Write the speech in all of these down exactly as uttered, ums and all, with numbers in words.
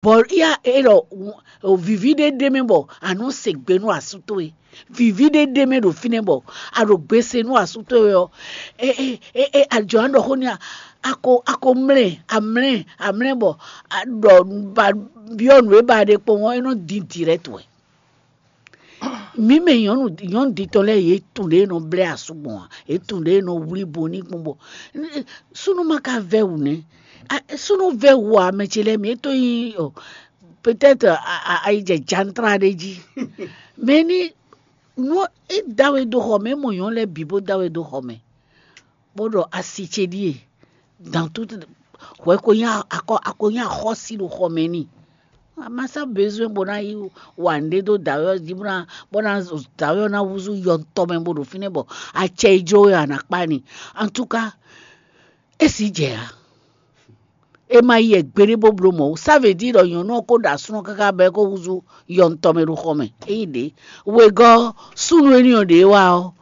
Bɔ ya e ɖɔ vǐví ɖé ɖ'é mɛ bɔ a nɔ se gbe nú asú towe. Vǐví ɖé ɖ'é mɛ ɖo fínɛ́ bɔ a ɖo gbe se nú asú towe ɔ́, e e e e a jɔ nǎ ɖɔ xó n'i a? A ko a ko mlɛ́ a mlɛ́ a mlɛ́ bɔ a ɖɔ ba byɔ́ nǔ e ba ɖe kpɔ́n ɔ́, é nɔ dín direct wɛ. Mǐ mɛ nyɔ̌nu nyɔ̌nu ɖitɔ́ lɛ́ɛ yě tunwun ɖě e nɔ blɛ́ asú gbɔn ǎ, yě tunwun ɖě e nɔ wlí bo ní gbɔn bɔ súnnu ma ka vɛ́ wǔ nɛ́. Súnnu vɛ́ wǔ ǎ, mɛ ce lɛ́ɛ mi é tó nyí ɔ peut-être ayi jɛ jantra ɖé jí. Mɛ ní nú é da we dó xɔ mɛ, é mɔ nyɔ̌nu lɛ́ɛ bǐ bó da we dó xɔ mɛ, bó ɖɔ asi ce ɖíe dan tout hwɛ ko nyí akɔ a ko nyí axɔ́sí ɖo xɔ mɛ n'i. A ma sɔ́ bezoin bó ná yi wa nǔɖé dó dǎwe ɔ́ jí bó ná bó ná dǎwe ɔ́ ná húzú yɔntɔ́ mɛ bó ɖo fínɛ́ bɔ acɛ e jló wɛ a nǎ kpá n'i. Antúká, é sì jɛ ǎ. É ma yi wɛ gbeɖé bó bló mɔ̌ ó. Ça veut dire ɖɔ nyɔ̌nu ɔ́ ko ɖo asú ɔ́ káká bɔ é ko húzú yɔntɔ́ mɛ ɖo xɔ mɛ. Ényí ɖě wegɔ́ súnnu énɛ́ ɔ́ ɖě wá ɔ́,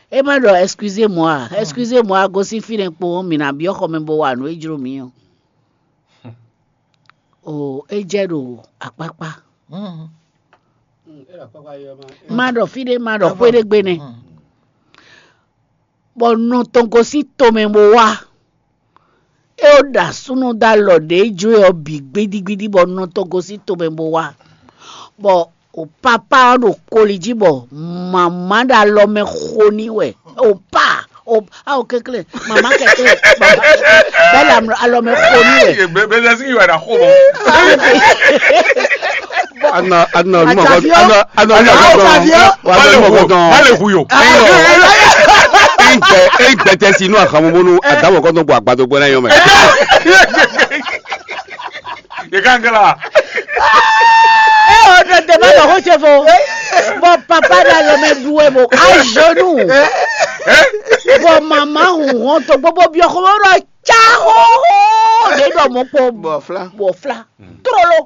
é ma ɖɔ excusez-moi ǎ. Excusez-moi, gosín fínɛ́ kpowun, mǐ ná byɔ́ xɔ mɛ bó wa nǔ e jló mǐ ɔ́. Oo, é jɛ ɖo akpákpá. Ma ɖɔ fí ɖé, ma ɖɔ xwé ɖé gbe nɛ́. Bɔ nɔ tɔn gosín tomɛ bó wá. É ó ɖo asúnɔ dó alɔ ɖě jló ɔ́ bǐ gbídígbídí bɔ nɔ tɔn gosín tomɛ bó wá. Bɔ o papá ɔ́ ɖo koli jí bɔ mama ɖo alɔ mɛ xo n'i wɛ. O pa o awo kɛnklɛ́n mama kɛnklɛ́n bɛlɛ alɔ mɛ xo n'i wɛ. Bɛlɛ sigi wɛ na xo mɔ. Ana ana olúmọ kọ ana ana olúmọ kọ dán wa lọ olúmọ kọ dán. Má lè hu yò. Eyín gbẹ eyín gbẹtẹ sí inú àkàmú bónú àdáwọ̀ kọ́ tó gbọ́ àgbàdo gbọ́n náà yọ mẹ́. Yẹ ká ń kẹ́la. Ẹ ò dọ̀dẹ̀ má lọ kó ṣe fo. Bɔ papa ɖo alɔ mɛ ɖu wɛ bɔ à genoux. Bɔ mama hùn hɔn tó gbogbo bí ọkọ mɔ ɖɔ tsa hóhó. Lè ɖɔ mɔ kpɔ bɔ fla. Bɔ fla. Trolo.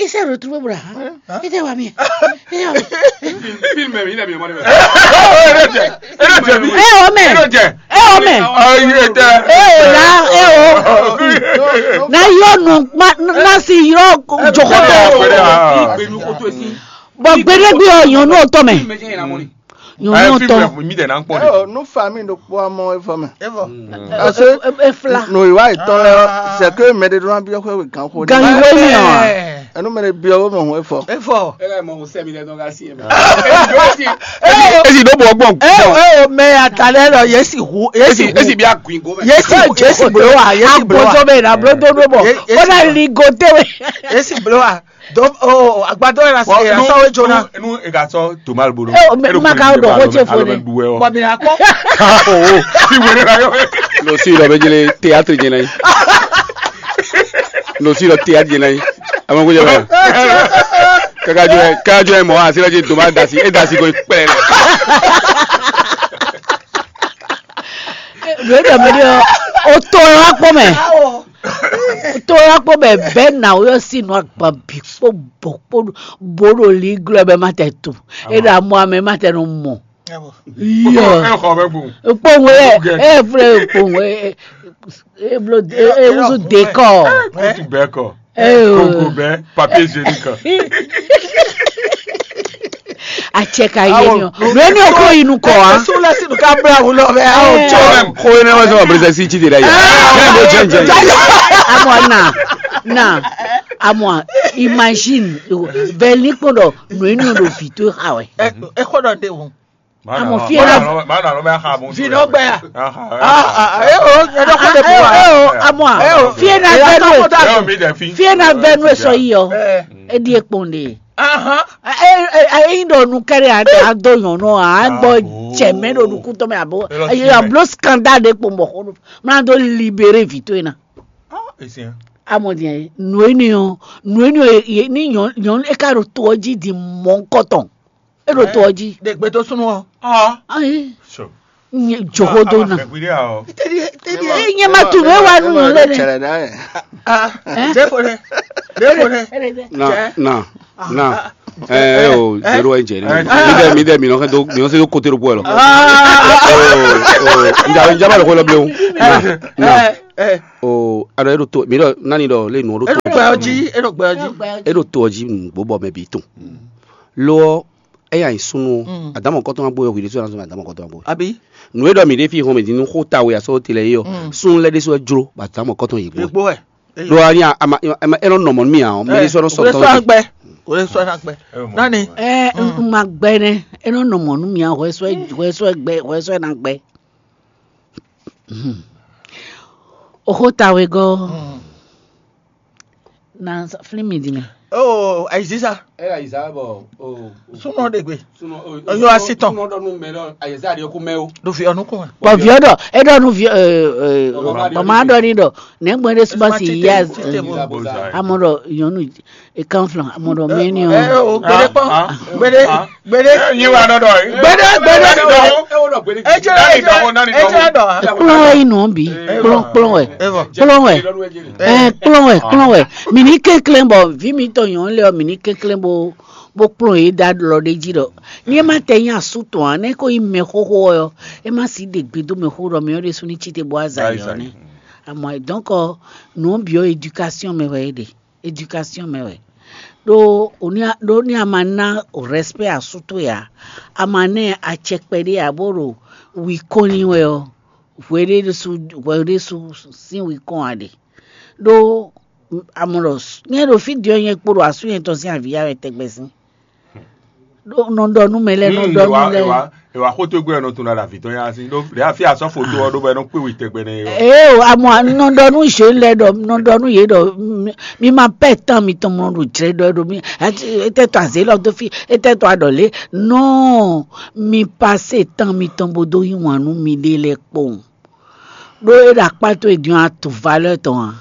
Il s'est retrouvé bra. Il était wa mi. Film mi, il a bien. Eh oh mɛ. Eh oh mɛ. Eh oh là eh oh. Na yɔ nu na si yɔ jokoto. Bɔ gbedegbe ɔ yɔn n'o tɔ mɛ. Nyɔ̌nu tɔn. Mi dɛ na kpɔn de. Ɛ o, nu fa mi ɖokpó amɔ efɔ mɛ. Efɔ. Parce que efla. Nù ìwà ìtọ́ lɛ, c'est que mɛ ɖe ɖó ná byɔ́ xwé wé gan xó. Gan yi wé mi ɔ. Ɛnu mɛ ɖe byɔ́ wé mɔ hun efɔ. Efɔ. E ka mɔ sɛ mi lɛ dɔn ka si yɛ mɛ. Esi ɖó bɔ gbɔn. Ɛ o, ɛ o, mɛ atalɛ lɔ yesi hu yesi hu. Esi bi agun go mɛ. Yesi yesi blo wa yesi blo wa. Agbɔsɔ bɛ na blo do do bɔ. Ó ná li go te wé. Yesi blo wa. Donc, oh, agbadɔ yɛ na se yɛ sɔ we jona. Nu e ka sɔ Thomas bolo. Eh, o mɛ ma ka o dɔ ko ce fo ne. Bɔ mi na kɔ. Oh, si wele na yɔ. No si dɔ bɛ jele théâtre jɛ na yi. No si dɔ théâtre jɛ na yi. A ma ko jɛ ba. Kaka jɔ kaka jɔ mɔ a sira jɛ Thomas dasi e dasi ko kpɛ. Lórí dɔ mi di o to yɔ kpɔ mɛ. To yɔ kpɔ mɛ bɛ na o yɔ si nɔ agba bi kpɔ bɔ kpɔ bo ɖo li glɔ bɛ ma tɛ tu. E ɖo amɔ amɛ ma tɛ nɔ mɔ. Yɔ. Kpɔ ŋu ɛ ɛ flɛ kpɔ ŋu ɛ ɛ blo ɛ wusu dekɔ. Kutu bɛ kɔ. Ɛ o. Koko bɛ papier hygiénique. Acɛ ka yé ni o. Lóni o ko inú kɔ wa. Sólẹ́sì ní ká bẹ̀rẹ̀ àwọn lọ bẹ́ẹ̀. Àwọn jọ. Kó iná wá sọ àbúrò sẹ́sì jí de dá yà. Ní ìbò jẹ́ jẹ́. Amọ̀ na na amọ̀ imagine bẹ́ẹ̀ ní kpọ́dọ̀ nù inú ló fi tó ha wẹ̀. Ẹ kọ́dọ̀ dé wọn. Amọ̀ fi ẹ̀ na. Fi náà gbẹ yà. Ẹ o ẹ dọ́kọ̀ dé bọ̀ wá. Ẹ o amọ̀ fi ẹ̀ na bẹ́ẹ̀ nù ẹ̀. Fi ẹ̀ na bẹ́ẹ̀ nù ẹ̀ sọ yìí ọ. Ẹ di ẹ̀ kpọ̀n de. Eyi ɖɔ nu kɛɖɛ a dó nyɔnu a gbɔ jɛmɛ ɖo nukúntɔ mɛ abo eyi ablo scandale ɖe kpɔn bɔ xɔ mla do libéré vito ena. Amɔ diɛ nu eni o nu eni o ni nyɔnu e ka ɖo to ɔ ji di mɔ nkɔtɔn e ɖo to ɔ ji. Ɖe gbe to sunu ɔ. Ayi. Nye jogodo na. Nye ma tu nue wa nu lɛ ne. Na na na ɛ o zero ɛ jɛ ne mi dɛ mi dɛ mi nɔ do mi nɔ se do kote do bɔ lɔ. Nja nja ba lɔ ko lɔ blewu. Na na. Ɛ, o, a ɖɔ e ɖo to mi ɖɔ nani ɖɔ lé nǔ ɔ ɖo e to ɖo gbɛ ɔ jí, e ɖo gbɛ ɔ jí. E ɖo to ɔ jí nǔgbó bɔ mɛ bǐ tɔn. Lo ɔ́, eya nyi súnnu ɔ́, adǎmɔ kɔtɔn ma gbó yɔ hwi ɖésú ná zɔn adǎmɔ kɔtɔn ma gbó. Abi. Nǔ e ɖɔ mǐ ɖe fí hɔn mɛ din nú xó ta we asɔ tele yé ɔ, súnnu lɛ́ ɖésú wɛ jló bɔ adǎmɔ kɔtɔn yě gbó. Yě gbó wɛ. Ɖó a ní a ma e nɔ nɔ mɔ̌ nú mì ǎ ɔ́, mɛ ɖésú ɔ́ nɔ sɔ tɔn. Wòle sɔ na gbɛ. Nani? Ɛ, un ma gbɛ nɛ, e nɔ nɔ mɔ̌ nú mì ǎ, hwɛsɔ hwɛsɔ gbɛ hwɛsɔ na gbɛ. Oxó ta wegɔ́ na flín mi din mɛ. Oh, ayiziza. Ela yi za bɔ o. Súnmọ́ ɖe gbe. Sunɔ o. Ọyọ asitɔn. Sunɔ ɖɔ nu mɛ lɔ ayɛza ɖe ko mɛ o. Ɖo fi ɔnu kún wa. Bɔ viɔ ɖɔ e ɖɔ nu viɔ ɛ ɛ bɔ ma ɖɔ ni ɖɔ nɛgbɛ ɖe suba si ya. Amɔ ɖɔ yɔnu e kan flan amɔ ɖɔ mɛ ni ɔ. Ɛ o gbede kpɔn. Gbede. Gbede. Yin wa nɔ dɔ yi. Gbede gbede. Ejɛ dɔ ejɛ dɔ. Kplɔn yi nɔ bi. Kplɔn kplɔn wɛ. Kplɔn wɛ. Ɛ kplɔn wɛ kplɔn wɛ. Mi ní kɛnklɛn bɔ vi mi tɔ nyɔn lɛ ɔ mi ní kɛnklɛn bo bo kplɔn yi da lɔ ɖe jí dɔ. Ní e ma tɛ nyi asu tɔn a ne ko yi mɛ xoxo ɔ yɔ. E ma si ɖe gbe do mɛ xo dɔ mɛ ɔ ɖe su ní tsi te bo aza yi ɔ nɛ. Amɔ donc nɔ bi ɔ éducation mɛ wɛ e ɖe. Éducation mɛ wɛ. Ɖó o ní a ɖó ní a ma ná o respect asu towe ǎ, a ma ná ɛ acɛ kpɛɖé ǎ bó ɖo wi kɔn n'i wɛ ɔ́, hweɖésu hweɖésu sín wi kɔn ǎ ɖe. Ɖó a mɔ ɖɔ nyɛ ɖo fí din ɔ́ nyɛ kpo ɖo asú nyɛ tɔn sín avǐ ya wɛ tɛgbɛ sín. Ɖó nɔ ɖɔ nú mɛ lɛ́ɛ nɔ ɖɔ nú lɛ́ɛ. Ewa xó tó gbé ɔnɔ tún ɖa avǐ tɔn yá sín ɖó ɖe afi asɔ foto ɔ ɖó bɔ ɛnɔ kpé wì tɛgbɛ nɛ yɔ. Ee o amɔ nɔ ɖɔ nú zé lɛ ɖɔ nɔ ɖɔ nú yé ɖɔ mi ma pɛ tán mi tɔn mɔ ɖo jrɛ ɖɔ ɖo mi etɛ tɔ azé lɔ dó fi etɛ tɔ aɖɔ lé nɔ mi pasé tán mi tɔn bo dó yí wǎn nú mi ɖé lɛ kpowun. Ɖó é ɖo akpá towe din ɔ́, a tunwun valeur tɔn ǎ.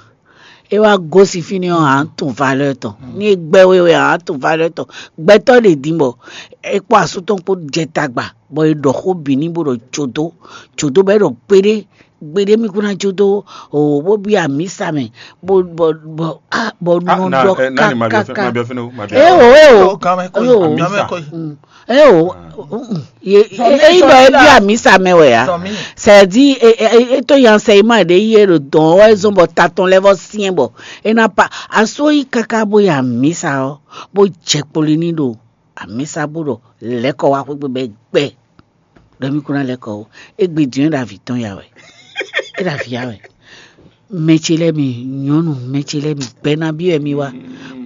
É wá gosín fínɛ́ ɔ́, a nǎ tunwun valeur tɔn. Ní é gbɛ́ we wɛ, a nǎ tunwun valeur tɔn. Gbɛtɔ́ ɖě din bɔ é kpó asú tɔn kpó jɛ tagba, bɔ è ɖɔ xó bǐ n'i bó ɖɔ jǒdó, jǒdó bɔ é ɖɔ gbeɖé, gbeɖé mì kún ná jó dó o bó byɔ́ amǐsa mɛ, bó bɔ bɔ á bɔ nɔ ɖɔ kákáká. É o é o. Eye o, ényí ɖɔ é byɔ́ amǐsa mɛ wɛ ǎ. C'est-à-dire é tó nyi ansɛyima ɖé yí é ɖo dɔ̌n ɔ́ wɛ zɔ́n bɔ ta tɔn lɛ́ vɔ́ syɛ́n bɔ é ná pa asú yi káká bó yi amǐsa ɔ́, bó jɛ kpoli ní ɖo amǐsa bó ɖɔ lɛ̌kɔ wá xwé gbe bɔ é gbɛ. Ɖɔ mí kún ná lɛ́ kɔ ó. Égbé din é ɖo avǐ tɔn ya wɛ. É ɖo avǐ ya wɛ. Mɛ ce lɛ́ɛ mi nyɔ̌nu, mɛ ce lɛ́ɛ mi gbɛ́nábí wɛ mi wá,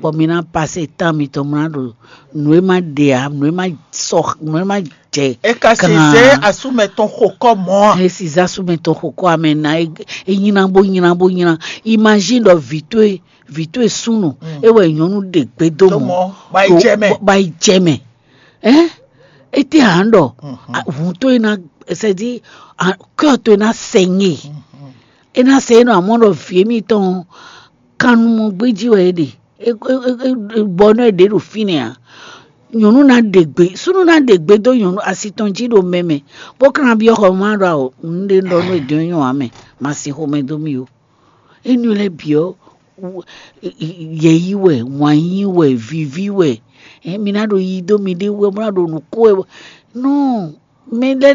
bɔ mi ná pasé tán mitɔn mlá ɖo nǔ e má ɖe ǎ, nǔ e má sɔ, nǔ e má jɛ. E ka si zé asúmɛ tɔn xo kɔ mɔ a? E si zé asúmɛ tɔn xo kɔ amɛ ná e nyina bó nyina bó nyina. Imagine ɖɔ vǐ towe vǐ towe súnnu e wɛ nyɔ̌nu ɖe gbe dó mɔ, ba yi jɛ mɛ. Ba yi jɛ mɛ. Ɛn, étɛ́ ǎ ɖɔ hun towe ná sɛdi kɔ towe ná sɛ nyɛ. É ná sɛ é nɔ amɔ ɖɔ vǐ émítɔn kannumɔ gbéjí wɛ é ɖe. Bɔ nɔ é ɖě ɖo fínɛ́ ǎ. Nyɔ̌nu ná ɖe gbe, súnnu ná ɖe gbe dó nyɔ̌nu asi tɔn jí ɖo mɛ mɛ, bó ka ná byɔ́ xɔ má ɖɔ awɔ un ɖe ɖɔ nú è dɔn nyɔ ǎ mɛ, ma sin xomɛ dó mì ó. Énɛ́ lɛ́ɛ bǐ ɔ́, yɛ̌yi wɛ, wǎn yí wɛ, viví wɛ, mi ná ɖo yi dó miɖée wú wɛ, bó ná ɖo nǔ kó wɛ. Nɔ mɛɖé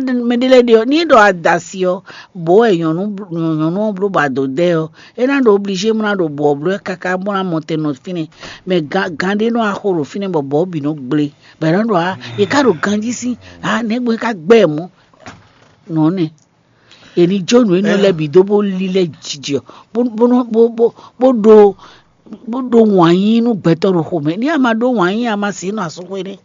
lɛ́ɛ ɖe ɔ́, ní é ɖɔ adasi ɔ́, bǒ wɛ nyɔ̌nu nyɔ̌nu ɔ́ bló bɔ ado dɛ ɔ́, é ná ɖo oblízé bó ná ɖo bɔ̌ bló ɛ káká bó ná mɔ tɛn nɔ fínɛ́. Mɛ gán gán ɖé nɔ axo ɖo fínɛ́ bɔ bɔ̌ bǐ nɔ gblé, bɔ è nɔ ɖɔ ǎ, è ká ɖo ganjí sín ǎ, nɛ̌ gbɔn é ká gbɛ́ ɛ mɔ̌? Nɔ̌ nɛ. È ní jó nǔ énɛ́ lɛ́ɛ bǐ dó bó lílɛ́ jijɛ ɔ́, bó bó nɔ bó bó bó ɖó bó ɖó wǎn yí nú gbɛtɔ́ ɖo xomɛ. Ní a ma ɖó wǎn yí a ma sǐ nɔ asúxwé nɛ́.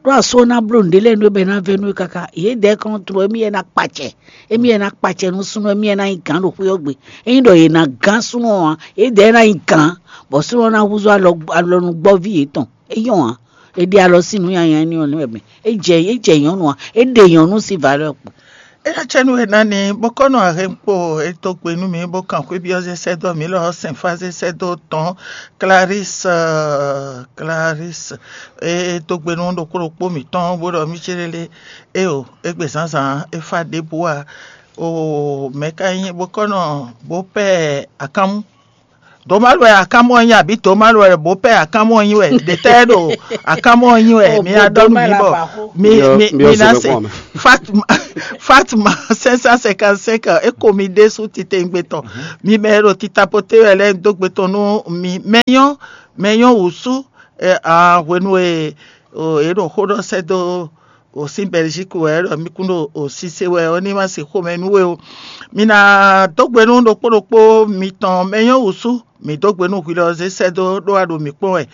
Ɖó asú ɔ́ ná bló nǔɖé lɛ́ɛ nú é bɔ é ná vɛ́ nú é káká. Yědɛɛ kɔn tló émí yɛ ná kpacɛ. Émí yɛ ná kpacɛ nú súnnu émí yɛ ná nyí gǎn ɖo xwé ɔ́ gbe. Ényí ɖɔ yě ná gán súnnu ɔ́ ǎ, yědɛɛ ná nyí gǎn, bɔ súnnu ɔ́ ná húzú alɔ alɔnugbɔ́ví yětɔn. É nyɔ́ ǎ. È ɖe alɔ sín nǔ nyanya énɛ́ ɔ́ nú wɛ mɛ. É jɛ é jɛ nyɔ̌nu ǎ. É ɖe nyɔ̌nu sín valeur kpo. Éyɛ́ cɛ́nú e ná ní bó kɔ́ nɔ ahɛnkpo e dó gbe nú mì bó kan xwé byɔ́ zé sɛ́ dó mǐ lɔ ɔ́, sɛnfá zé sɛ́ dó tɔn Clarisse, Clarisse e dó gbe nú ɖokpó ɖokpó mǐtɔn bó ɖɔ mì céɖélé. Éeǒ, égbé zǎnzǎn é fá ɖěbǔ ǎ. Oo, mɛ̌ ka nyí bó kɔ́ nɔ bó pɛ́ akánmú? Domalu wɛ akanmɔ nyi abǐ Domalu wɛ bopɛ akanmɔ nyi wɛ ɖetɛ ɖo akanmɔ nyi wɛ? Mi ná ɖɔ nú mi bɔ mi mi mi ná se. Fatma Fatma cinq cent cinquante-cinq, e ko mi ɖésú titewungbe tɔn. Mi mɛ e ɖo titapote wɛ lɛ́ɛ dó gbe tɔn nú mi. Mɛ nyɔ́ mɛ nyɔ́ wǔsú. Hwenu e è ɖo xó ɖɔ sɛ́ dó o sín Bɛlízíki wɛ é ɖɔ mì kún ɖo o sise wɛ ɔ́ ní ma se xomɛ nú we ó. Mi ná dó gbe nú ɖokpó ɖokpó mitɔn mɛ nyɔ́ wǔsú, mǐ dó gbe nú hwi lɔ zé sɛ́ dó ɖó wá ɖo mǐ kpɔ́n wɛ.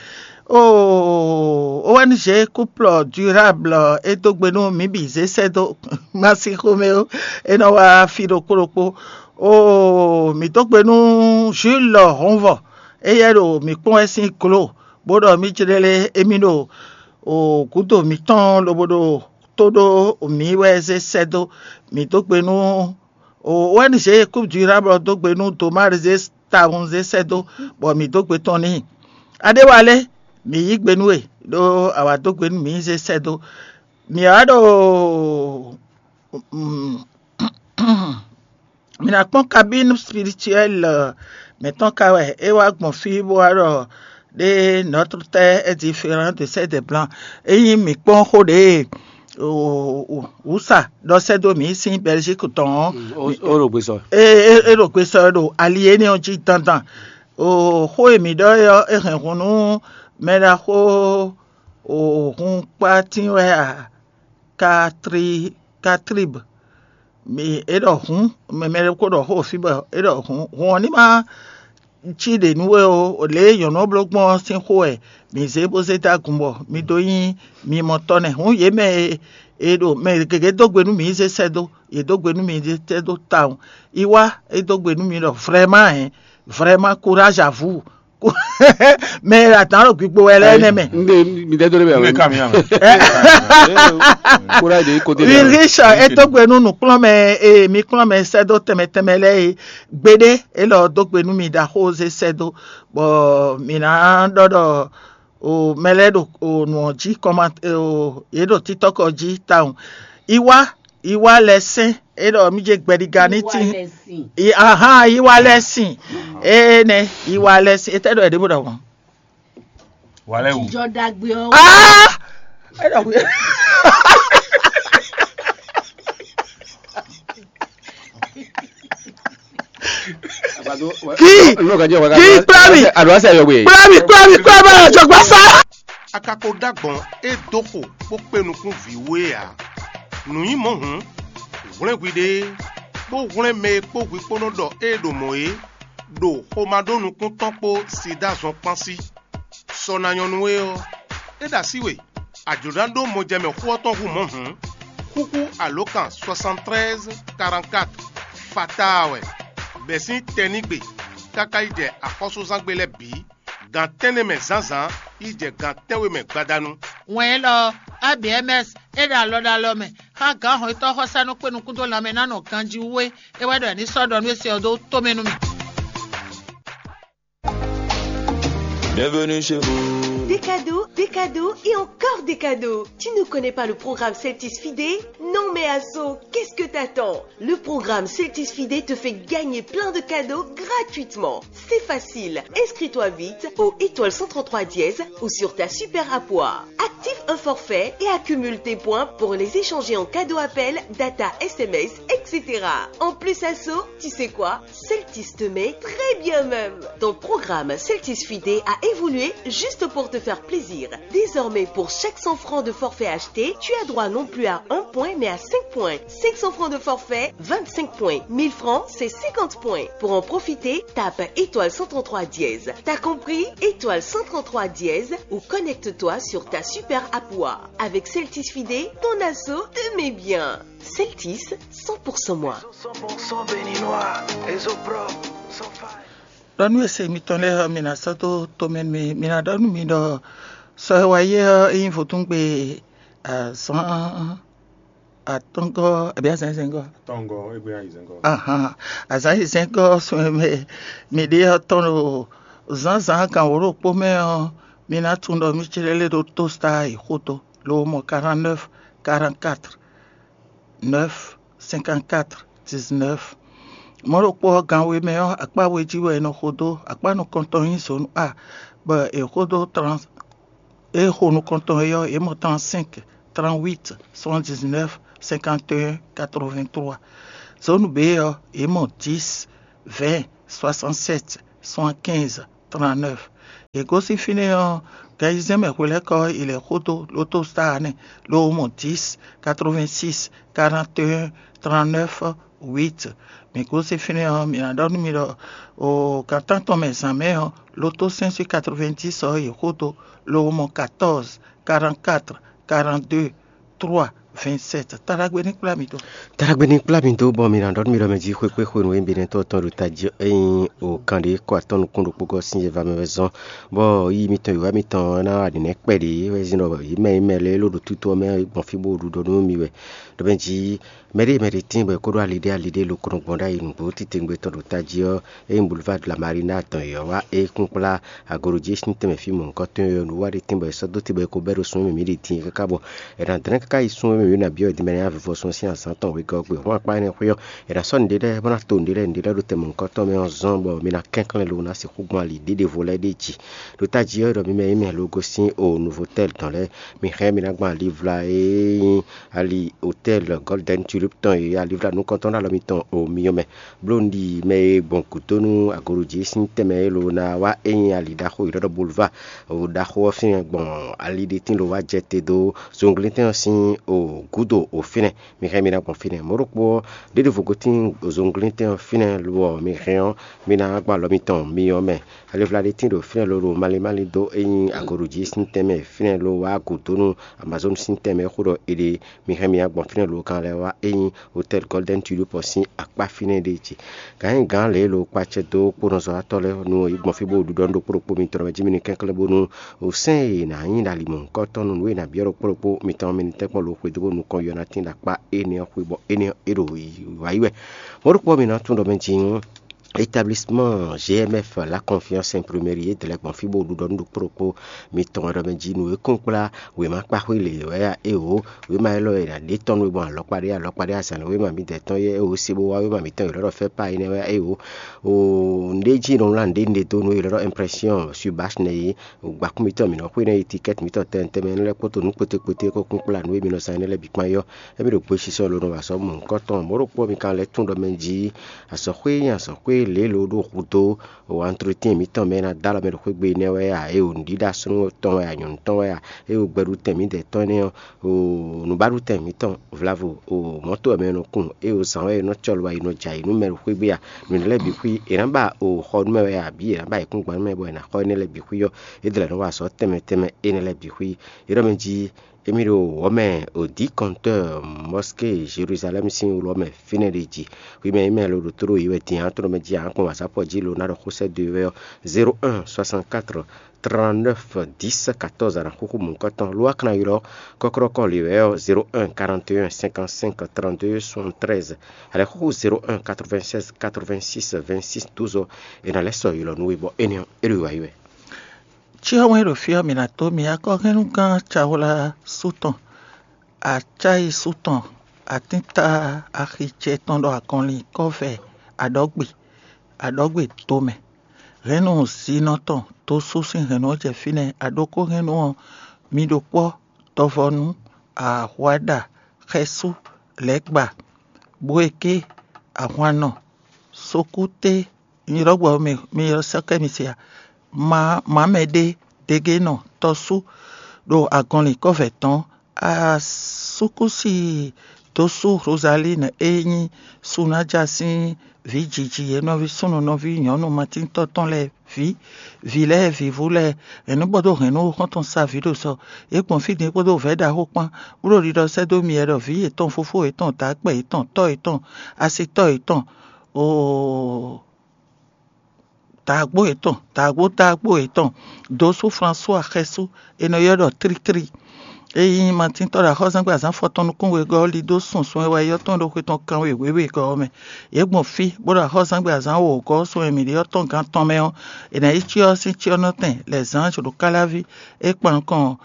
Oo, O N G Couple Durable é dó gbe nú mǐ bǐ zé sɛ́ dó ma sín xomɛ ó, é nɔ wá fí ɖokpó ɖokpó. Oo, mǐ dó gbe nú Jules Hɔnvɔ, éyɛ́ ɖo mǐ kpɔ́n wɛ sín glo, bó ɖɔ mǐ jlé émí ɖo o gǔdo mǐtɔn lobo ɖo tó ɖó mǐ wɛ zé sɛ́ dó. Mǐ dó gbe nú O N G Coupe Durable dó gbe nú Domar zé tawun zé sɛ́ dó, bɔ mǐ dó gbe tɔn n'i. Adéwálé, mǐ yí gbe nú we, ɖó a wǎ dó gbe nú mǐ zé sɛ́ dó. Mǐ wá ɖo mi ná kpɔ́n kabínu spirituɛl mɛ̌tɔn ka wɛ é wá gbɔn fí bó wá ɖɔ ɖé Notre Terre est différente de celle des Blancs. Ényí mǐ kpɔ́n xó ɖě wǔsa ɖɔ sɛ́ dó mǐ sín Bɛlízík tɔn ɔ́, ó ɖo gbe sɔ. É é- é ɖo gbe sɔ ɖo ali énɛ́ ɔ́ jí dandan. O xó e mǐ ɖɔ é ɔ́, é hɛn hun nú mɛ ɖaxó o hun kpátín wɛ a? Katri Katrib. Mi é ɖɔ hǔn, mɛ mɛ ɖokpó ɖɔ xó fí bɔ é ɖɔ hǔn hǔn ɔ́ ní ma cí ɖě nú we ó. Lě e nyɔ̌nu ɔ́ bló gbɔn ɔ́ sín xó wɛ mǐ zé bó zé dó agun bɔ mi dó nyí mimɔtɔ́ nɛ́. Hǔn yě mɛ e e ɖo mɛ gěgé dó gbe nú mǐ zé sɛ́ dó, yě dó gbe nú mǐ zé sɛ́ dó tawun. Yi wá é dó gbe nú mi ɖɔ vrɛ́má hɛn, vrɛ́má kuráž avǔ. Mɛ e ɖo adǎn ɖo gbigbo wɛ lɛ́ɛ nɛ́ mɛ. Nde mi dɛ do de bɛ. Nde ka mi yan. Kura de ko de. Ulrich é dó gbe nú nǔkplɔ́nmɛ e mi kplɔ́n mɛ sɛ́ dó tɛnmɛ tɛnmɛ lɛ́ɛ é gbeɖé, é lɔ dó gbe nú mi ɖo axóze sɛ́ dó, bɔ mǐ ná ɖɔ ɖɔ o mɛ lɛ́ɛ ɖo o nǔ ɔ́ jí kɔma o yě ɖo títɔ́kɔ jí tawun. Iwá iwá lɛ́ sɛn é ɖɔ mí jɛ gbɛɖiga ní tín. Ahan iwá lɛ́ sin. Ee nɛ iwá lɛ́ sin. Etɛ ɖɔ ɛɖɛ bó ɖɔ wɔn. Wà lɛ wù. Jijɔ dagbe ɔ. Ah! É ɖɔ wí. Kí kí kpla mi. Àdúrà sẹ yọ gbé. Kpla mi kpla mi kpla mi àjọgbá sá. A ka ko ɖó agbɔ̌n e dó xo bó kpé nukún vǐ wú é ǎ. Nǔ nyí mɔ̌ hǔn, hwlɛ́n hwiɖée, bó hwlɛ́n mɛ e kpó hwi kpó nɔ ɖɔ ée ɖo mɔ̌ é, ɖo xomado-nukúntɔ́ kpó Sidáa zɔn kpán sí. Sɔ ná nyɔ́ nú we ɔ́, é ɖo así we, a jlǒ ná ɖó mɔjɛmɛ xó ɔ́ tɔn hú mɔ̌ hǔn, xúxú alǒkan soixante treize quarante-quatre fataa wɛ, bɛ̌ sín tɛnígbe káká yi jɛ axɔ́súzángbe lɛ́ɛ bǐ. Gan tɛ́nnɛ mɛ zǎnzǎn yi jɛ gan tɛ́nwe mɛ gbadanu. Wɛn élɔ́ ɔ́, A B M S é ɖo alɔ ɖo alɔ mɛ xá gǎn hɔn e tɔ́ xɔ́sá nɔ kpé nukún dó lanmɛ ná nɔ ganjí wú é. É wɛ ɖɔ è ní sɔ́ ɖɔ nú é se ɔ́ dó tomɛ nú mì. Bienvenue chez vous. Des cadeaux, des cadeaux et encore des cadeaux. Tu ne connais pas le programme Celtis Fidé ? Non mais Asso, qu'est-ce que t'attends ? Le programme Celtis Fidé te fait gagner plein de cadeaux gratuitement. C'est facile. Inscris-toi vite au étoile cent trente-trois dièse ou sur ta super app. Active un forfait et accumule tes points pour les échanger en cadeau appel, data, S M S, et cetera. En plus, Asso, tu sais quoi ? Celtis te met très bien même. Ton programme Celtis Fidé a évolué juste pour te faire plaisir. Désormais, pour chaque cent francs de forfait acheté, tu as droit non plus à un point, mais à cinq points. Cinq cents francs de forfait, vingt-cinq points. Mille francs, c'est cinquante points. Pour en profiter, tape étoile cent trente-trois dièse. T'as compris ? Étoile cent trente-trois dièse ou connecte-toi sur ta super app. Avec Celtis Fidé, ton asso te met bien. Celtis, cent pour cent moi. Cent pour cent béninois, réseau propre, sans faille. Ɖɔ nú ese mitɔn lɛ́ɛ ɔ́, mi ná sɔ́ dó tomɛ nú mi. Mi ná ɖɔ nú mi ɖɔ sɔ e wá yi ɔ́, é nyí vodúngbe azǎn atɔ́ngɔ́ abǐ azǎn zɛ́ngɔ́. Tɔ́ngɔ́, égbé ayǐ zɛ́ngɔ́. Ahan, azǎn yi zɛ́ngɔ́ sun e mɛ mi ɖe ɔ́ tɔn ɖo zǎnzǎn gan wǒ ɖokpó mɛ ɔ́, mi ná tunwun ɖɔ mí clɛ́ lé ɖó tósá yi xódó, lo mɔ quarante-neuf quarante-quatre neuf cinquante-quatre dix-neuf. Mɔ̌ ɖokpó ɔ́, gan we mɛ ɔ́, akpá we jí wɛ è nɔ xo dó. Akpá nukɔntɔn nyí zǒnu A, bɔ è xo dó trans é xo nukɔntɔn é ɔ́, yě mɔ trente-cinq, trente-huit, soixante-dix-neuf, cinquante et un, quatre-vingt-trois. Zone B ɔ́, yě mɔ dix, vingt, soixante-sept, soixante-quinze, trente-neuf. Yě gosín fínɛ́ ɔ́, gan ayizɛ́n mɛ hwelɛ́kɔ ɔ́, è lɛ̌ xó dó Lotostar nɛ́, ló mɔ dix, quatre-vingt-six, quarante et un, trente-neuf, huit. Mǐ gosín fínɛ́ ɔ́, mǐ ná ɖɔ nú mi ɖɔ o gan tántɔn mɛ zǎn mɛ ɔ́, Loto cinq sur quatre-vingt-dix ɔ́, yě xó dó, ló mɔ quatorze, quarante-quatre, quarante-deux, trois, vingt-sept. Taɖagbe ní kplá mi dó. Taɖagbe ní kplá mi dó, bɔ mi ná ɖɔ nú mi ɖɔ mɛ jí xwé kpé xwenu e mi ɖe tɔn tɔn ɖo tají ɔ́, ényí o kan ɖé kɔ atɔn nukún ɖokpó gɔ́ sín yɛ va mɛ wɛ zɔn, bɔ yí mitɔn yǒwá mitɔn ɔ́ ná wa nǐnɛ́ kpɛɖé wɛ zin ɖɔ yě mɛ yě mɛ lɛ́ɛ ló ɖo tútú ɔ́ mɛ gbɔn fí bó ɖu ɖɔ nú mi wɛ. Ɖɔ mɛ jí mɛɖée mɛɖée tíin bɔ è kó ɖó ali ɖé ali ɖé lo kɔnɔ gbɔn ɖ'ayǐ nǔgbó titewungbe tɔn ɖo tají ɔ́, ényí Boulevard de la Marina tɔn yě ɔ́ wá é kún kplá agorojí sín tɛnmɛ fí mɔ̌hunkɔtɔn e ɔ́, nǔwiwa ɖé tíin bɔ è sɔ́ dó te bɔ è ko bɛ́ ɖo sun e mɛ mǐ ɖe din é káká bɔ è nǎ dlɛ́n káká yi sun e mɛ mǐ ɖo ná byɔ́ è din mɛ ná vivɔ sun ɔ́ sín azǎn tɔn wegɔ́ ɔ́ gbe. Hɔn akpá énɛ́ xwé ɔ́, è nǎ sɔ́ nǔɖé lɛ́ɛ bó ná to nǔɖé lɛ́ɛ nǔɖé lɛ́ɛ ɖo tɛnmɛ nǔkɔntɔn mɛ ɔ́ zɔ́n bɔ mi ná kɛnklɛ́n lo ná sixú gbɔn ali ɖěɖevo lɛ́ɛ ɖ'é jí. Ɖo tají ɔ́, è ɖɔ mi mɛ yí mɛ lo gosín o Novotel tɔn lɛ́ɛ, mi hɛn mi ná gbɔn ali vla e nyí ali Hôtel Golden Tulip tɔn e alivla nukɔntɔn ɖo alɔ mitɔn o myɔ mɛ. Bló un ɖi mɛ e gbɔn gǔdo nú agorojí sín tɛnmɛ e lo ná wá é nyí ali ɖaxó e ɖɔ Boulevard o ɖaxó ɔ́ fínɛ́ gbɔn ali ɖé tín lo wá jɛ te dó zunglíntɛn ɔ́ sín o gǔdo o fínɛ́. Mi hɛn mi ná gbɔn fínɛ́. Mɔ̌ ɖokpó ɔ́, ɖěɖevo gotín zunglíntɛn ɔ́ fínɛ́ lo ɔ́, mi hɛn ɔ́, mi ná gbɔn alɔ mitɔn myɔ mɛ. Alivla ɖé tín ɖo fínɛ́ lolo malín malín dó é nyí agorojí sín tɛnmɛ fínɛ́ lo wá gǔdo nú Amazon sín tɛnmɛ e xó ɖɔ è ɖe. Mi hɛn mi ná gbɔn fínɛ́ lo kan lɛ́ɛ wá é nyí Hôtel Golden Tulip sín akpá fínɛ́ ɖé jí. Gǎn nyi gǎn lě e lo kpacɛ dó kpónɔzɔ́watɔ́ lɛ́ɛ nú yi gbɔn fí bó ɖuɖɔ nú ɖokpó ɖokpó mitɔn mɛ jí mi ní kɛnklɛ́n bónú o sɛ́n e è nǎ nyí ɖo ali mɔ̌hunkɔtɔn nú nǔ e è nǎ byɔ́ ɖokpó ɖokpó mitɔn mɛ ní tɛ́nkpɔ́n lo xwedó bó nukɔn yɔ ná tín ɖo akpá énɛ́ ɔ́ xwé bɔ énɛ́ ɔ́ é ɖo wǎyi wɛ. Mɔ̌ ɖokpó ɔ́, mi ná tunwun ɖɔ mɛ jí établissement G M F La Confiance Imprimerie e dlɛ́ gbɔn fí bó ɖuɖɔ nú ɖokpó ɖokpó mitɔn wɛ ɖɔ mɛ jí nú e kún kplá wěma kpáxwé lě wɛ a éeǒ. Wěma élɔ́ e è nǎ ɖe tɔ́ nú we gbɔn alɔkpa ɖé alɔkpa ɖé azǎn wěma mǐdɛɛ tɔn yɛ éeǒ sé bó wá wěma mǐtɔn e è lɔ́ ɖɔ fɛ́ pa énɛ́ wɛ a éeǒ. O nɖé jí nɔ wlán nǔɖé nɖé dó nú e è lɔ́ ɖɔ impression sur bâche nɛ́ é. Gbakún mitɔn mǐ nɔ xwé nɛ́ yi tikɛ́ti mǐtɔn tɛnmɛ tɛnmɛ lɛ́ɛ kpódó nǔ kpóté kpóté kó kún kplá nǔ e mi nɔ zán énɛ́ lɛ́ɛ bǐ kpán é ɔ́, émí ɖo gbesisɔ lo nɔ wa azɔ̌ mɔ̌hunkɔtɔn. Mɔ̌ ɖokpó mi ka lɛ́ tunwun ɖɔ mɛ jí azɔ̌xwé e nyí azɔ̌xwé lě e lo ɖo hudó o antrotín mǐtɔn mɛ e ná dó alɔ mɛ ɖo xwé gbe nɛ́ wɛ a, ée o nǔɖiɖa súnnu tɔn wɛ a, nyɔ̌nu tɔn wɛ a, ée o gbɛɖutɛn mǐdɛɛ tɔn énɛ́ ɔ́, o nǔbaɖutɛn mǐtɔn vlavo o mɔ̌to wɛ mɛ e nɔ kun, ée o zǎn wɛ è nɔ cɔlɔ wɛ yi nɔ jɛ ayǐ nú mɛ ɖo xwé gbe a, nǔ énɛ́ lɛ́ɛ bǐ xwí è nǎ ba o xɔ nú mɛ wɛ a, bǐ è nǎ ba ayǐkúngban nú mɛ bɔ è nǎ xɔ énɛ́ lɛ́ɛ bǐ xwí ɔ́, é dlɛ̌ nɔ wa azɔ̌ tɛnmɛ tɛnmɛ énɛ́ lɛ́ɛ bǐ xwí. É ɖɔ mɛ jí émí ɖo wɔ̌ mɛ o dǐ kɔntɔ́ mɔ́ské Jeluzalɛ́mu sín wlɔ́ mɛ fínɛ́ ɖé jí. Hwi mɛ e mɛ lo ɖo tló yi wɛ din ǎ, tló mɛ jí ǎ, kpɔ́n wǎzápɔ jí lo ná ɖɔ xó sɛ́ dó we ɔ́, zéro un soixante-quatre trente-neuf dix quatorze a nǎ xúxú mɔ̌hunkɔtɔn. Lo wá ka ná ylɔ́ kɔ́klɔ́kɔ lě wɛ ɔ́, zéro un quarante et un cinquante-cinq trente-deux soixante-treize, a lɛ̌ xúxú zéro un quatre-vingt-seize quatre-vingt-six vingt-six douze ɔ́, è nǎ lɛ́ sɔ́ ylɔ́ nú we bɔ énɛ́ ɔ́, é ɖo wa yi wɛ. Cyɔ́ wɛn ɖo fí ɔ́, mǐ ná tó mì akɔ́hɛ́nnugán Cawla sú tɔn, acáyi sú tɔn, atínta axi ce tɔn ɖo agɔnlin kɔ́vɛ aɖɔ́gbe aɖɔ́gbe tomɛ. Hɛ̌nnu zinɔ tɔn dó sú sín hɛ̌nnu ɔ́ jɛ fínɛ́. Aɖókó hɛ̌nnu ɔ́, mi ɖo kpɔ́, tɔvɔnu, ahwaɖa, xɛsú, lɛ̌gba, bwéké, ahwannɔ, sokúté, nyilɔ́gbɔ mi mi sɔ́ kɛ mi se a? Mǎ mǎ mɛ ɖé, degenɔ, tɔ́sú ɖo agɔnlin kɔ́vɛ tɔn. Asúkúsi dó sú Rozalín e nyí Sunája sín vǐ jiji e nɔví súnnu nɔví nyɔ̌nu matíntɔ́ tɔn lɛ́ɛ ví, vǐ lɛ́ɛ vǐvú lɛ́ɛ, hɛ̌nnu kpódó hɛ̌nnu xɔ́ntɔn sa vǐ ɖo sɔ. Yě gbɔn fí din kpódó vɛ̌ ɖaxó kpán, bó ɖo ɖiɖɔ sɛ́ dó mi wɛ ɖɔ vǐ yětɔn, fofó yětɔn, dǎkpɛ yětɔn, tɔ́ yětɔn, asitɔ́ yětɔn, oo, dǎgbó yětɔn, dǎgbó dǎgbó yětɔn, dǒsú Flasuwa xɛsú, è nɔ ylɔ́ ɖɔ Tlítlí. É nyí matíntɔ́ ɖo axɔ́zángbé azǎn fɔtɔn nukún wegɔ́ ɔ́ li dó sunsun e wɛ yɔ́ tɔn ɖo xwe tɔn kanwe wěwegɔ́ ɔ́ mɛ. Yě gbɔn fí, bó ɖo axɔ́zángbé azǎn wǒgɔ́ sun e mǐ ɖe ɔ́ tɔn gán tɔn mɛ ɔ́, è nǎ yi cyɔ ɔ́ sín cyɔ́nɔtɛn lɛ̌ zán jǒ ɖo káláví é kpan nukɔn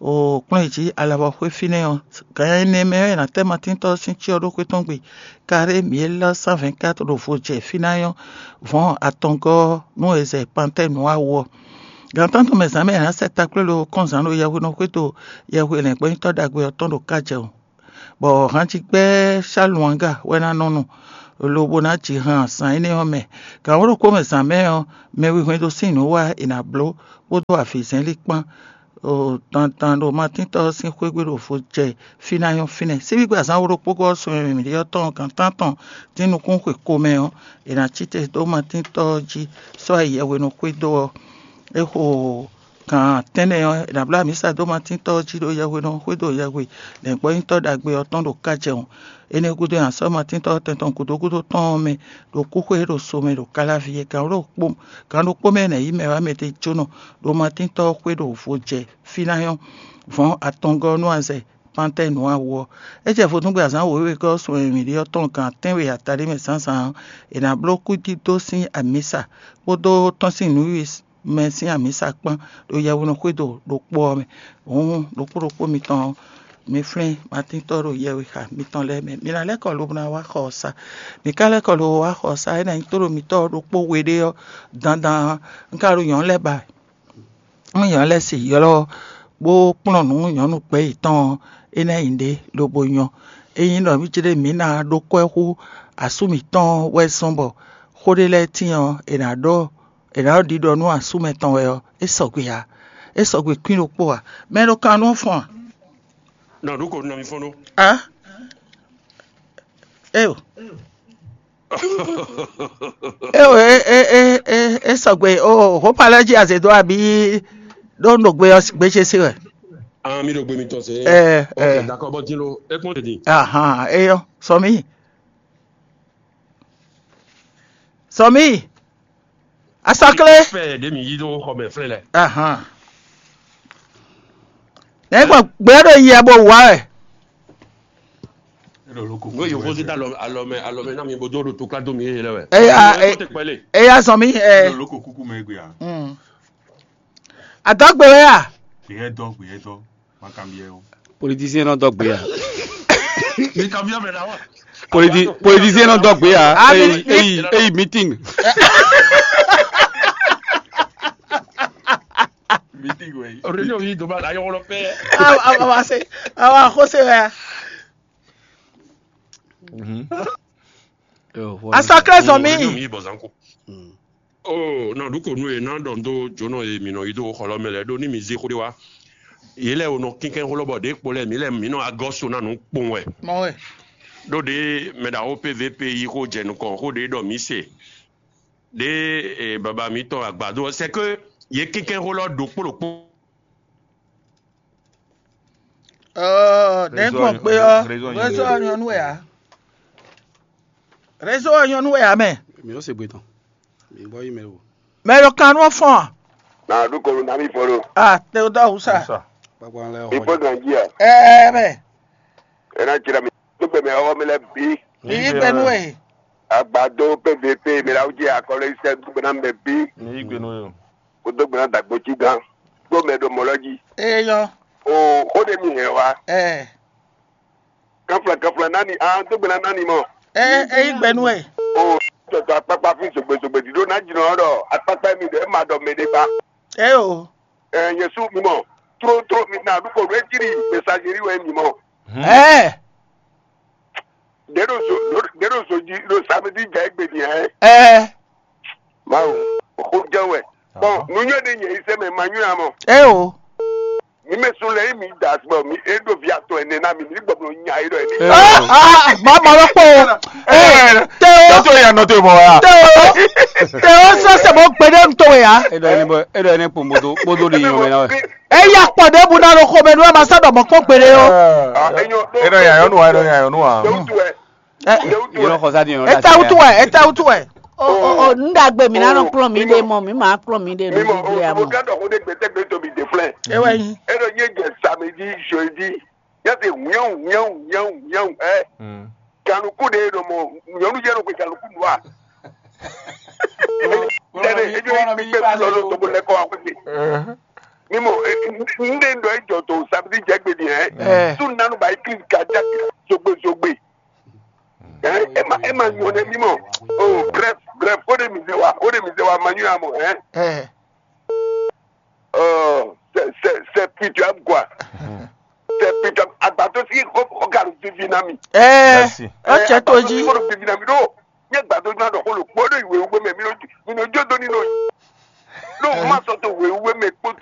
O kplɔ́n yi jí alavɔ xwé fínɛ́ ɔ́, gan ɛnɛ mɛ ɔ́, è nǎ tɛ́ Matíntɔ́ ɔ́ sín cyɔ ɖó xwé tɔn gbe. Karé mǐ élɔ́ cent vingt-quatre ɖo vo jɛ fí ná nyɔ́ vɔ̌n atɔngɔ́ ɔ́ nú è zɛ Pantɛ́ɛ nǔ awu ɔ́. Gan tántɔn mɛ zǎn mɛ è nǎ sɛ takplé ɖo kɔnzán ɖo yɛhwenu xwédo yɛhwe lɛ̌ngbɔ́nyitɔ́ ɖagbe ɔ́ tɔn ɖo ká jɛ o. Bɔ hanjigbɛ́ Shaluanga wɛ ná nɔ nu, lobo ná ji han zǎn énɛ́ ɔ́ mɛ. Gan wǒ ɖokpó mɛ zǎn mɛ ɔ́, mɛ wihwɛndo sín nǔ wá è nǎ bló, kpódó avǐzɛ́nlí kpán. O dandan ɖo Matíntɔ́ ɔ́ sín xwé gbe ɖo vo jɛ fí ná nyɔ́ fínɛ́. Síbígbe azǎn wǒ ɖokpó gɔ́ sun e mǐ ɖe ɔ́ tɔn gan tántɔn dín nukún xwe ko mɛ ɔ́, è nǎ cí te dó Matíntɔ́ ɔ́ jí sɔ́ ayi yɛhwenu xwédo ɔ́. É xo gan tɛ́nnɛ ɔ́, è nǎ bló amǐsa dó Matíntɔ́ ɔ́ jí ɖo yɛhwenu xwédo yɛhwe lɛ̌ngbɔ́nyitɔ́ ɖagbe ɔ́ tɔn ɖo ká jɛ ɔ́. Énɛ́ gúdo nyi asɔ́ Matíntɔ́ tɛn tɔn gǔdo gúdo tɔn ɔ́ mɛ ɖo kúxwé ɖo so mɛ ɖo Kalávi é. Gan ɖokpó mɛ nɛ̌ yí mɛ wá mɛ ɖé jónɔ ɖo Matíntɔ́ xwé ɖo vo jɛ fí ná nyɔ́ vɔ̌n atɔngɔ́ nú azɛ Pantɛ́ɛ nǔ awu ɔ́. É jɛ vodúngbe azǎn wěwe gɔ́ sun e mǐ ɖe ɔ́ tɔn gan tɛ́nwe ataɖé mɛ zǎnzǎn ɔ́, è nǎ bló kúdídó sín amǐsa kpódó tɔ́n sín nǔwiwi mɛ sín amǐsa kpán ɖo yɛhwenu xwédo ɖokpó ɔ́ mɛ. Hǔn ɖokpó ɖokpó mitɔn ɔ́, mi flín Matíntɔ́ ɖo yɛhwexa mitɔn lɛ́ɛ mɛ. Mi ná lɛ́ kɔ lobo ná wá xɔ ɔ́ sá. Mi ka lɛ́ kɔ lobo wá xɔ ɔ́ sá, é ná nyí tóɖo mitɔ́ ɔ́ ɖokpó we ɖé ɔ́ dandan. Un ka ɖo nyɔ̌nu lɛ́ɛ ba wɛ. Nú nyɔ̌nu lɛ́ɛ se ylɔ́ bó kplɔ́n nǔ nyɔ̌nu gbɛ̌ yětɔn ɔ́, é ná nyí ɖě lobo nyɔ́. Ényí ɖɔ mǐ jlé mǐ ná ɖó kwɛ́ hú asú mǐtɔn wɛ zɔ́n bɔ xó ɖé lɛ́ɛ tíin ɔ́, è nǎ ɖɔ è nǎ ɖɔ ɖiɖɔ nú asú mɛtɔn wɛ ɔ́, é sɔgbe ǎ. É sɔgbe kwín ɖokpó ǎ. Mɛ e ɖo kan nú ɔ́ fɔ́n a? Nɔ ɖu ko nɔ mi fɔ́n ɖó. A? Eo. Eo, e e e e e sɔgbe o hopalɛ jí azě dó abǐ ɖó un ɖo gbe ɔ́ gbe ce se wɛ. Ah, mi ɖo gbe mitɔn se. Ɛ, Ok, ɛ. D'accord, bɔ din lo, e kpɔn ɖe din. Ahan, eyɔ, sɔ mí. Sɔ mí. Asɔklé. Fɛ ɖe mi yi ɖo xɔ mɛ flɛ lɛ. Ahan. Nɛ gbɔ gbɛ ɖo yɛ bo wa wɛ. Ngo yovo zé ta alɔ alɔ mɛ alɔ mɛ na mi bo do ɖo to kla do mi yeye lɛ wɛ. Eya, Ɛ, e- ko te kpɛle. Eya sɔ mí ɛ. Loko kuku mɛ gbe a. Mm. Adɔgbe wɛ ya. Gbeyɛ dɔ gbeyɛ dɔ. Ma kan biɛ o. Politisiyɛn nɔ dɔ gbe ya. Mi kan biɛ mɛ la wa. Politi politisiyɛn nɔ dɔ gbe ya. Ah, eyi mi- eyi eyi meeting. Meeting wɛ. Réunion yi doma la yɔrɔ pɛ. Awa awa se awa xose wɛ. Asɔklé zɔn mi. Réunion yi bɔ zanko. Oh, nɔ ɖu ko nú e nɔ ɖɔ ndo jónɔ e mi nɔ yi do xɔlɔ mɛ lɛ ɖó ní mi zé xó ɖé wá. Yě lɛ wo nɔ kínkɛ́n xó lɔ bɔ ɖě kpo lɛ mǐ lɛ mǐ nɔ agɔ́ so ná nǔ kpowun wɛ. Mɔ wɛ. Ɖó ɖě mɛ ɖaxó P V P yi xó jɛ nukɔn xó ɖě ɖɔ mǐ se. Ɖě e baba mǐtɔn agbado ɔ́, c'est que yě kínkɛ́n xó lɔ ɖokpó ɖokpó. Ɔɔ, nɛ̌ gbɔn gbe ɔ́, réseau ɔ́ nyɔ́nu wɛ ǎ. Réseau ɔ́ nyɔ́nu wɛ ǎ mɛ. Mi nɔ se gbe tɔn. Mi gbɔ yi mɛ o. Mɛ ɖo kan nú ɔ́ fɔ́n a? Na ɖu kɔnu na mi fɔ ɖo. A te o dɔ awusa. Kpakpa lɛ Mi xɔ. Fɔ gan jí a? Ɛɛ mɛ. Ena jira mi. Tó gbɛ mɛ ɔwɔ mi lɛ bi. Yí gbɛ nú ɛ. Agbado P V P mi la wúji akɔlɔ yi sɛ dúgbò ná mɛ bí. Ní yí gbe nú yó. Kó dó gbɛ́ná dàgbò jí gán. Kó mɛ ɖo mɔ̌ lɔ jí. Eyɔ. O xó ɖé mi hɛn wa. Ɛ. Kanfla kanfla nani a dó gbɛ́ná nani mɔ. Ɛ ɛ yí gbɛ nú ɛ. O tɔtɔ akpakpa fún zogbezogbe dídó ná jìnnà ɔ́ ɖɔ akpakpa mi ɖɔ ɛ ma ɖɔ mɛ ɖé ba. Ɛ o. Ɛ yɛsu mi mɔ. Tró tró mi na ɖu kɔ ɖu ɛ jiri mɛsajiri wɛ mi mɔ. Ɛ. Ɖě ɖo zo ɖě ɖo zo jí ɖo samedi jɛ égbé din hɛn. Ɛ. Mawu, xó jɛ wɛ. Bɔn nu nyɔ ɖe nyɛ yi sɛ mɛ ma nyɔ amɔ. Ɛ o. Mi mɛ sun lɛ yi mi da bɔ mi e ɖo vi atɔ ɛnɛ na mi mi gbɔ blo nya yi ɖɔ ɛni. Ɛ o. Ah, ah, ma ma lɔ kpɔ o. Ɛ, tɛ o. Tɛ o ya nɔ te bɔ ya. Tɛ o. Tɛ o sɔ sɛ bɔ gbɛdɛ ntɔ ya. E ɖɔ ɛni bɔ e ɖɔ ɛni kpɔn bodo bodo ɖi nyɔ mɛ na wɛ. Eya kpɔ ɖěbǔ ná ɖo xomɛ nú ɛ ma sɔ́ ɖɔ mɔ̌ kpɔ́n gbeɖé ó. Enɔ ya yɔnu wa, enɔ ya yɔnu wa. Yɔnu xɔ sá di yɔnu. Etɛ wutu wɛ, etɛ wutu wɛ. O o o, nu ɖagbe mi ná nɔ kplɔ́n mi ɖe mɔ, mi ma kplɔ́n mi ɖe nu gbígbé a mɔ. Ewɛ nyi. Enɔ nye jɛ samedi, jeudi, yɛ se wíyɔn wíyɔn wíyɔn wíyɔn ɛ. Ganuku ɖe ɖo mɔ nyɔnu yɛ ɖo gbe ganuku nua. Tɛnɛ ejo yi kpekpe lɔ ɖo tobo lɛ kɔ wa kpekpe. Ni mo Nde ɖɔ ejɔ to samedi jɛgbe ni hɛn. Sunanu ba église ka ja zogbe zogbe. Ɛ ema ema nyɔ ne mi mɔ. Oh, bref, bref, o de mi se wa, o de mi se wa ma nyɔ amɔ hɛn. Ɛ Euh, c'est c'est c'est pitoyable quoi. C'est pitoyable. Agbato si o o ka vivi na mi. Ɛ Merci. Ɔtsɛ tó jí. Ko vivi na mi ɖo. Nye agbato ma ɖɔ ko lo kpɔ ɖo iwe ugbe mɛ mi ɖo mi ɖo jo do ni nɔ yi. Ɖo ma sɔ to we ugbe